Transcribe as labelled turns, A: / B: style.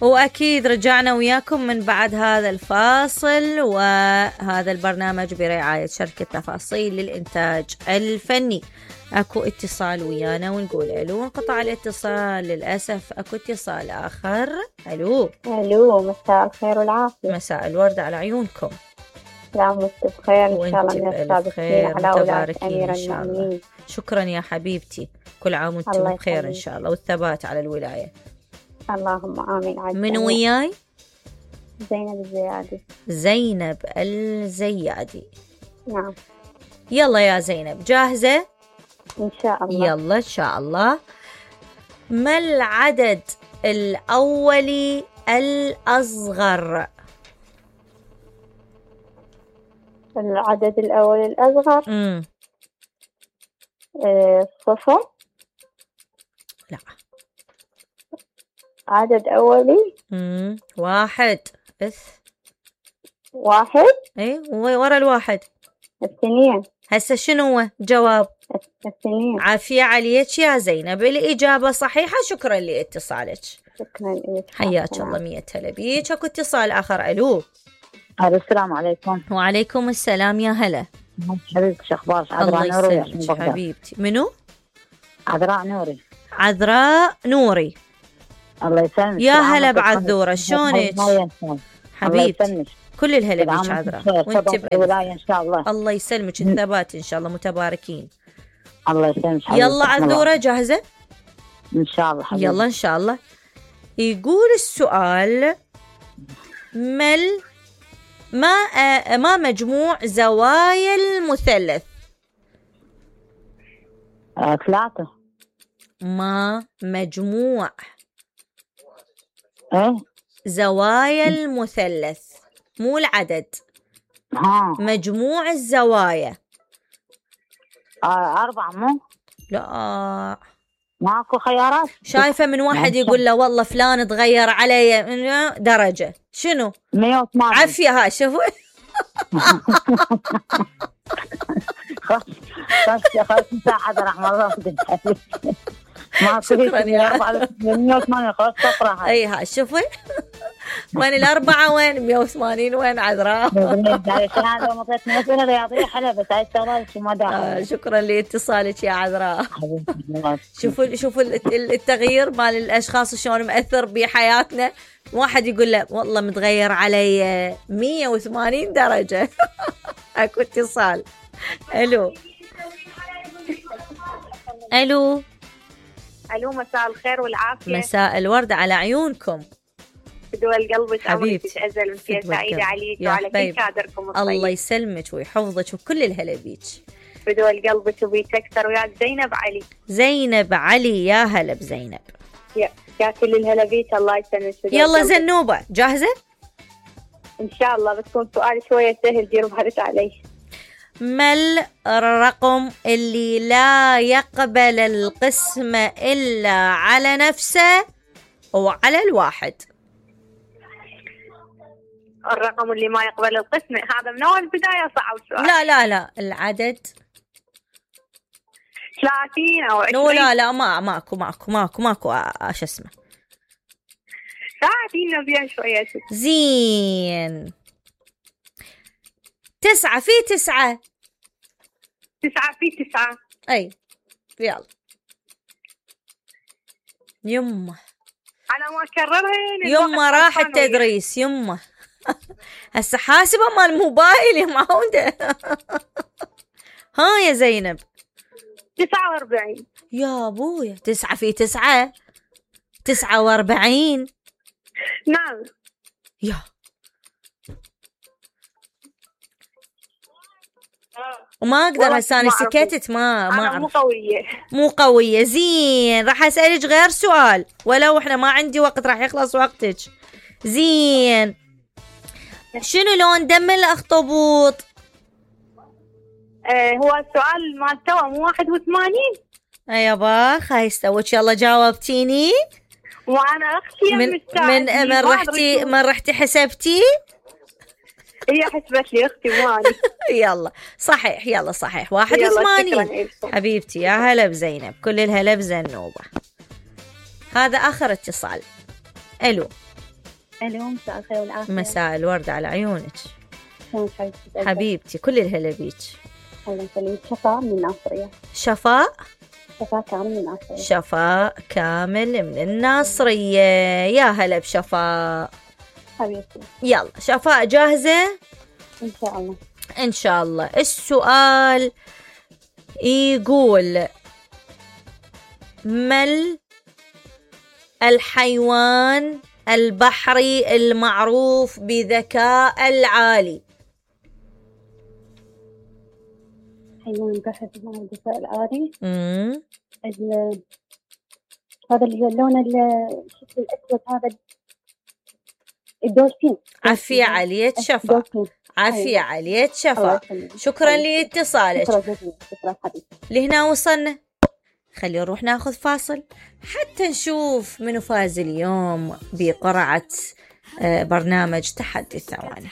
A: وأكيد رجعنا وياكم من بعد هذا الفاصل، وهذا البرنامج برعاية شركة تفاصيل للإنتاج الفني. أكو اتصال ويانا ونقول ألو، انقطع الاتصال للأسف. أكو اتصال آخر. ألو.
B: مساء الخير والعافية.
A: مساء الورد على عيونكم.
B: سلامتك بخير إن شاء الله.
A: وانت بألف خير متباركين إن شاء الله. شكرا يا حبيبتي، كل عام وانتم بخير إن شاء الله، والثبات على الولاية.
B: اللهم آمين.
A: من وياي؟
B: زينب الزيادي.
A: زينب الزيادي.
B: نعم.
A: يلا يا زينب، جاهزة؟
B: إن شاء الله.
A: يلا إن شاء الله. ما العدد الأولي الأصغر؟
B: العدد الأولي الأصغر. صفر.
A: لا.
B: عدد أولي.
A: واحد.
B: واحد.
A: ايه ورا الواحد.
B: اثنين.
A: هسه شنو هو جواب؟
B: اثنين.
A: عافية عليك يا زينب، الإجابة صحيحة. شكرا لاتصالك.
B: شكرا لك.
A: حياك الله، 100 هلا بيك. اكو اتصال آخر. ألو.
B: السلام عليكم.
A: وعليكم السلام يا هلا.
B: حبيبتي شو اخبارك؟
A: عذراء نوري حبيبتي. منو؟
B: عذراء نوري.
A: عذراء نوري.
B: الله يسلمك.
A: يا هلا بعذورة، شلونك حبيبتي؟ كل الهلا بيك عذراء، وانت
B: بالولاية ان شاء الله.
A: الله يسلمك، الثبات ان شاء الله، متباركين.
B: الله يسلمك.
A: يلا عذورة جاهزة
B: ان شاء الله حبيبتي.
A: يلا ان شاء الله. يقول السؤال: ما مجموع زوايا المثلث؟
B: 3.
A: ما مجموع
B: ايه
A: زوايا المثلث، مو العدد. مجموع الزوايا.
B: 4 مو؟
A: لا
B: ماكو خيارات.
A: شايفة من واحد يقول له والله فلان تغير علي درجة. شنو؟
B: 180.
A: عافية. ها شوفوا.
B: خلاص مساعدة رحمة الله. ما
A: شكرا يا
B: 180. خلاص تقرأ.
A: اي ها شوفي. وين 4 وين 180 وين عذراء؟
B: هذا مطيتني أسئلة رياضية حلوة، بس هاي الشغلات شو ما داخل.
A: شكرا لاتصالك يا عذراء. شوفوا التغيير مال الأشخاص شلون مأثر بحياتنا. واحد يقول له والله متغير علي 180 درجة. اكو اتصال. الو. الو.
B: مساء الخير والعافية.
A: مساء الورد على عيونكم.
B: بدول قلبك
A: حبيبتي.
B: أزل وفي سعيدة عليك وعلى كل كادركم الطيب.
A: الله يسلمك ويحفظك وكل الهلا بيك.
B: بدول قلبك وبيك أكثر. وياك زينب علي.
A: زينب علي. يا هلا بزينب.
B: يا كل الهلا بيك. الله يسلمك.
A: يلا زنوبة جاهزة؟
B: إن شاء الله. بتكون سؤال شوية سهل، دير بالك عليه.
A: ما الرقم اللي لا يقبل القسمة إلا على نفسه وعلى الواحد؟
B: الرقم اللي ما يقبل القسمة، هذا من أول بداية صعب السؤال.
A: لا العدد
B: 30 أو 20.
A: لا ماكو شو اسمه.
B: ساعدينا بيها شوية.
A: زين. 9 في 9.
B: 9 في 9.
A: أي يلا يمه.
B: على ما أكررها
A: يمه راح التدريس يمه. هسه حاسبة مال موبايل يا معودة. ها يا زينب.
B: 49.
A: يا أبويا 9 في 9 49.
B: نعم.
A: يا وما اقدر هسه انا سكتت ما اعرف. مو قوية. زين راح اسألك غير سؤال ولو احنا ما عندي وقت، راح يخلص وقتك. زين. شنو لون دم الاخطبوط؟
B: هو السؤال ما استوى مو 81.
A: يا باخ هاي استوت. يلا جاوبتيني.
B: وانا اختي
A: من رحتي حسبتي؟
B: هي حسبت لي اختي ماني.
A: يلا صحيح. يلا صحيح 81. حبيبتي يا هلا بزينب، كل الهلا بزنوبة. هذا اخر اتصال. الو.
C: الو، مساء الخير والعافية.
A: مساء الورد على عيونك.
C: شلونك حبيبتي؟
A: حبيبتي كل الهلا بيك.
C: الله يسلمك. شفاء من الناصرية.
A: شفاء
C: كامل من الناصرية.
A: شفاء كامل من الناصرية. يا هلا بشفاء
C: حبيبتي.
A: يلا شفاء جاهزة؟
C: إن شاء الله.
A: إن شاء الله. السؤال يقول: ما الحيوان البحري المعروف بذكاء العالي؟
C: حيوان بحري معروف بذكاء العالي. هذا اللون الشكل الأسود، هذا الدولفين.
A: عافية عليك شفاء. عافية عليك شفاء. شكرا لاتصالك.
C: شكرا حبيبي.
A: لهنا وصلنا. خلينا نروح ناخذ فاصل حتى نشوف منو فاز اليوم بقرعة برنامج تحدي الثواني.